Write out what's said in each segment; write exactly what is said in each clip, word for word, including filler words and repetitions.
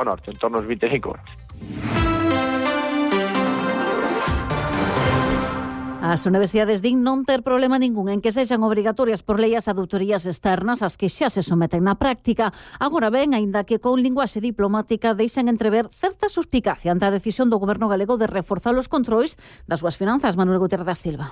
ao norte, en torno aos vinte e cinco euros. As universidades din non ter problema ningún en que sexan obrigatorias por lei as auditorías externas as que xa se someten na práctica. Agora ben, aínda que con linguaxe diplomática deixan entrever certa suspicacia ante a decisión do goberno galego de reforzar os controis das súas finanzas. Manuel Gutiérrez da Silva.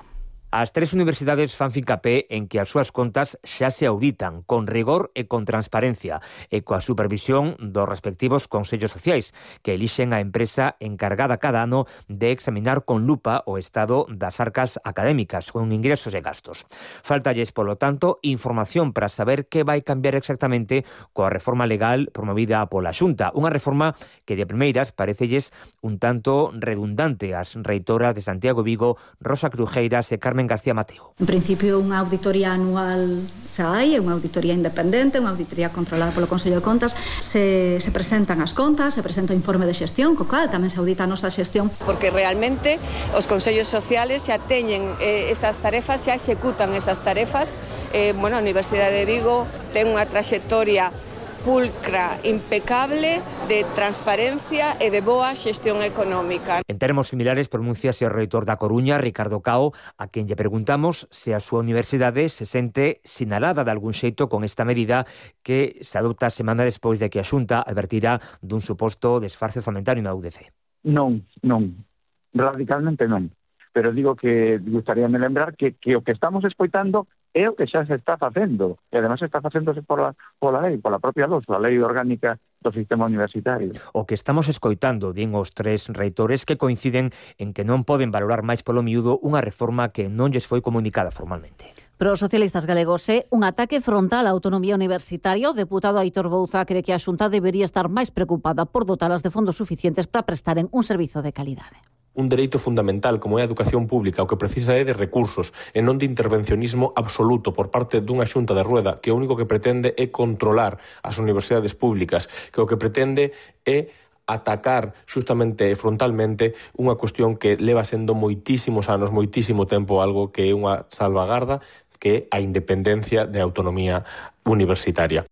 As tres universidades fan fincapé en que as súas contas xa se auditan con rigor e con transparencia e coa supervisión dos respectivos consellos sociais que elixen a empresa encargada cada ano de examinar con lupa o estado das arcas académicas con ingresos e gastos. Faltalles, polo tanto, información para saber que vai cambiar exactamente coa reforma legal promovida pola Xunta, unha reforma que de primeiras parecelles un tanto redundante ás reitoras de Santiago Vigo, Rosa Crujeiras e Carmen García Mateo. En principio, unha auditoría anual xa hai, é unha auditoría independente, unha auditoría controlada polo Consello de Contas. Se, se presentan as contas, se presenta o informe de xestión, co cal tamén se audita a nosa xestión. Porque realmente os consellos sociales xa teñen eh, esas tarefas, xa executan esas tarefas. Eh, bueno, a Universidade de Vigo ten unha traxectoria pulcra, impecable, de transparencia e de boa xestión económica. En termos similares pronunciase o reitor da Coruña, Ricardo Cao, a quen lle preguntamos se a súa universidade se sente sinalada de algún xeito con esta medida que se adopta semana despois de que a Xunta advertira dun suposto desfarce orzamentario na U D C. Non, non, radicalmente non. Pero digo que gustaríame lembrar que, que o que estamos escoitando é o que xa se está facendo, e además está facéndose pola, pola lei, pola propia luz, a lei orgánica do sistema universitario. O que estamos escoitando, din os tres reitores que coinciden en que non poden valorar máis polo miúdo unha reforma que non lles foi comunicada formalmente. Para os socialistas galegos é un ataque frontal á autonomía universitaria. O deputado Aitor Bouza cree que a Xunta debería estar máis preocupada por dotalas de fondos suficientes para prestaren un servizo de calidade. Un dereito fundamental como é a educación pública o que precisa é de recursos e non de intervencionismo absoluto por parte dunha xunta de rueda que o único que pretende é controlar as universidades públicas, que o que pretende é atacar xustamente e frontalmente unha cuestión que leva sendo moitísimos anos, moitísimo tempo, algo que é unha salvagarda, que é a independencia de autonomía universitaria.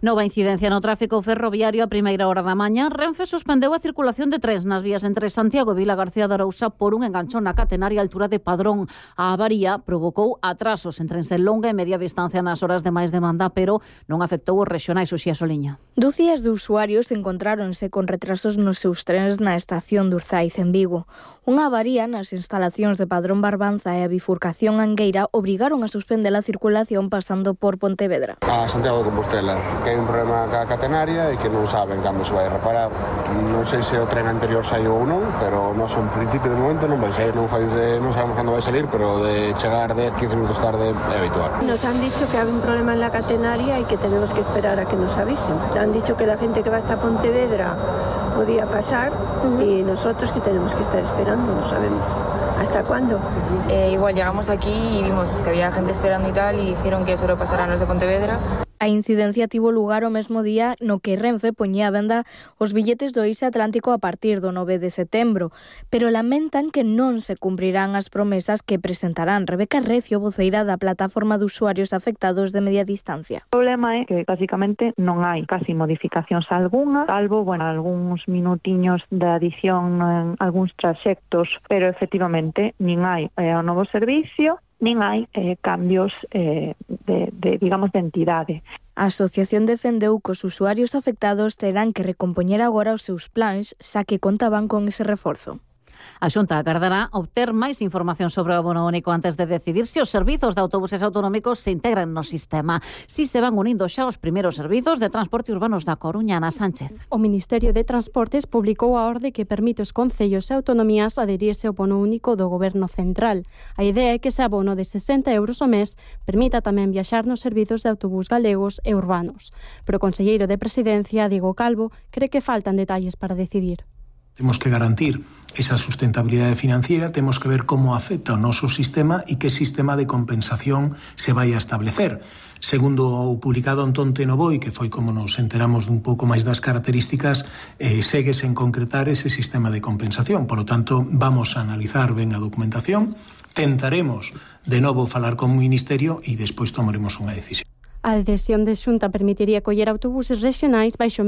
Nova incidencia no tráfico ferroviario a primeira hora da mañá. Renfe suspendeu a circulación de trens nas vías entre Santiago e Vila García de Arousa por un enganchón na catenaria a altura de Padrón. A avaría provocou atrasos en trens de longa e media distancia nas horas de máis demanda, pero non afectou os rexionais. Uxía Soliña. Dúcias de usuarios encontráronse con retrasos nos seus trens na estación de Urzaiz en Vigo. Unha avaría nas instalacións de Padrón Barbanza e a bifurcación Angueira obrigaron a suspender a circulación pasando por Pontevedra. A Santiago de Compostela, que hai un problema ca catenaria e que non saben cando se vai reparar. Non sei se o tren anterior saiu ou non, pero nós en principio de momento non vai sair, non, fai de, non sabemos cando vai salir, pero de chegar dez a quince minutos tarde é habitual. Nos han dicho que hai un problema en la catenaria e que tenemos que esperar a que nos avisen. Han dicho que la gente que va hasta Pontevedra podía pasar uh-huh. y nosotros que tenemos que estar esperando, no sabemos. ¿Hasta cuándo? Eh, igual llegamos aquí y vimos pues, que había gente esperando y tal y dijeron que solo pasarán los de Pontevedra. A incidencia tivo lugar o mesmo día no que Renfe poñía a venda os billetes do Ise Atlántico a partir do nove de setembro, pero lamentan que non se cumprirán as promesas que presentarán. Rebeca Recio, voceira da plataforma de usuarios afectados de media distancia. O problema é que, basicamente, non hai casi modificacións algunha, salvo, bueno, algúns minutiños de adición en algúns traxectos, pero, efectivamente, nin hai eh, o novo servicio, nin hai eh, cambios eh, de, de, digamos, de entidade. A asociación defendeu que os usuarios afectados terán que recompoñer agora os seus plans, xa que contaban con ese reforzo. A Xunta agardará obter máis información sobre o abono único antes de decidir se os servizos de autobuses autonómicos se integran no sistema. Si se van unindo xa os primeiros servizos de transporte urbanos da Coruña. Ana Sánchez. O Ministerio de Transportes publicou a orde que permite os concellos e autonomías adherirse ao abono único do Goberno Central. A idea é que ese abono de sesenta euros ao mes permita tamén viaxar nos servizos de autobús galegos e urbanos. Pero o conselleiro de Presidencia, Diego Calvo, cree que faltan detalles para decidir. Temos que garantir esa sustentabilidade financiera, temos que ver como afecta o noso sistema e que sistema de compensación se vai a establecer. Segundo o publicado en Tonte no Boi, que foi como nos enteramos dun pouco máis das características, eh, segue sen concretar ese sistema de compensación. Por lo tanto, vamos a analizar ben a documentación, tentaremos de novo falar con o Ministerio e despois tomaremos unha decisión. A adhesión de Xunta permitiría coller autobuses rexionais baixo